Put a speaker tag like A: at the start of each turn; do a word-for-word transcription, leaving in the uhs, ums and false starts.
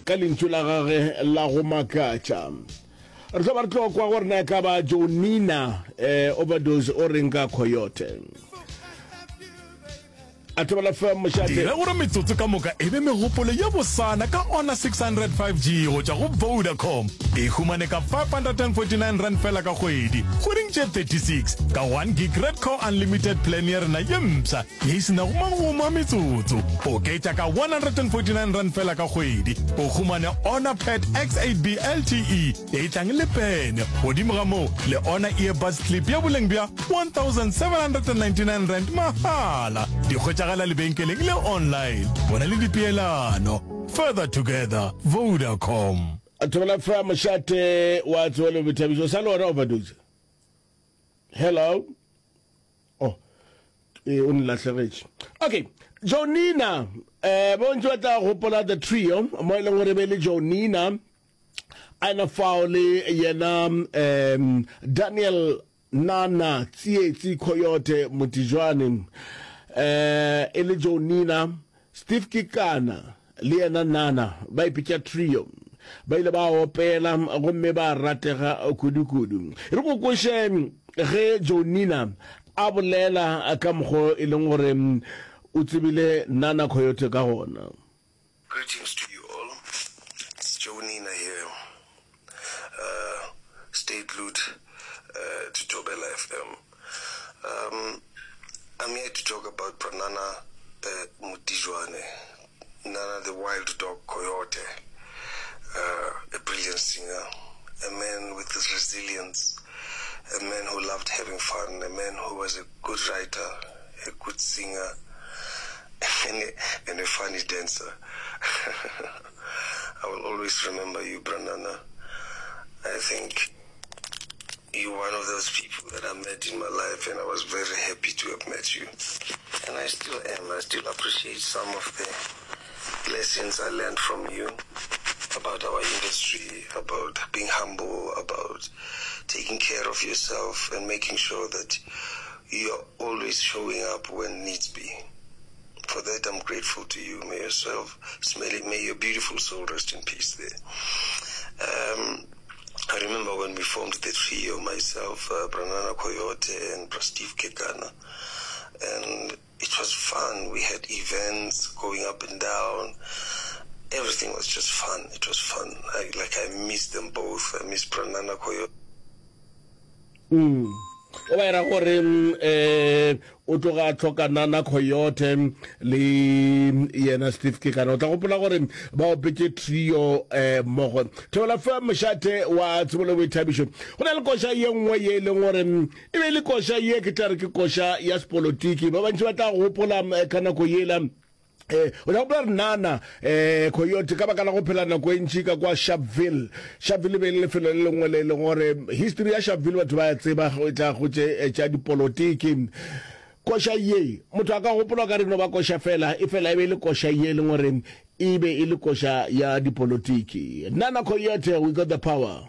A: Ka lentšu la gage la go makatša. Re tlo ba re tlo kwa gore na e ka ba Jonina eh, Overdose o reng ka Coyote. A Thobela F M mošate.
B: Dira gore metsotso ka moka e be megopolo ye bosana ka Honor six hundred five G go tšwa go Vodacom. E humane ka five hundred and forty-nine rand fela ka kgwedi, kgweding tše thirty-six, ka one gig Red Core Unlimited plan ya rena ye mpsha ye e se nago magomo a metsotso. Oketša ka one hundred and forty-nine rand fela ka kgwedi, o humane Honor Pad X eight B L T E e tlang le pene. Godimo ga moo, le Honor Earbuds Clip ya boleng bja one thousand seven hundred and ninety-nine rand mahala. Di hwetšagala lebenkeleng le online. Bona le dipeelano. Further together, Vodacom.
A: Thobela F M mošate wa tsebo le boithabišo. Sa le wena Overdose? Hello? Oh, e o nlahlegetše. Okay, Jonina, eh bontši ba tla gopola the trio mo e leng gore be le Jonina a ena fao le yena um Daniel Nana Tsietsi Coyote Motijwane, eh e le Jonina, Steve Kekana le yena Nana, ba ipitša trio. Ba ile ba opela gomme ba ratega kudu-kudu. Re go kweše ge Jonina a bolela ka mokgo e leng gore o tsebile Nana Coyote ka gona.
C: Greetings to you all. It's Joe Nina here. Uh, stay glued uh, to Thobela F M. Um, I'm here to talk about Pranana uh, Mutijwane, Nana the Wild Dog Coyote, uh, a brilliant singer, a man with resilience, a man who loved having fun, a man who was a good writer, a good singer, and a, and a funny dancer. I will always remember you, Branana. I think you're one of those people that I met in my life, and I was very happy to have met you. And I still am. I still appreciate some of the lessons I learned from you about our industry, about being humble, about taking care of yourself and making sure that you're always showing up when needs be. For that, I'm grateful to you. May yourself, may your beautiful soul rest in peace there. Um, I remember when we formed the trio, myself, uh, Branana Coyote, and Steve Kekana, and it was fun. We had events going up and down. Everything was just fun. It was fun. I, like I miss them both. I miss Branana Coyote.
A: Mm. O ba era gore um o tloga a tlhoka Nana Coyote le yena Steve Kekana. O tla gopola gore ba opetse trio um mmogo. Thobela F M mošate wa tsebo le boithabišo. Go na le koša ye nngwe ye e leng gore e be e le koša ye ke tla re ke koša ya sepolotiki. Ba bantši ba tla gopola ka nako yela, Eh, o tla gopola re Nana eh Coyote, ka baka la go phela nako e ntši ka kwa Sharpeville. Sharpeville e be e le lefelo le lengwe le e leng gore history ya Sharpeville batho ba ya tseba go tla go tše tša dipolotiki. Koša ye motho a ka gopola ka re no ba koša fela, e fela e be e le koša ye e leng gore e be e le koša ya dipolotiki. Nana Coyote, "We Got the Power".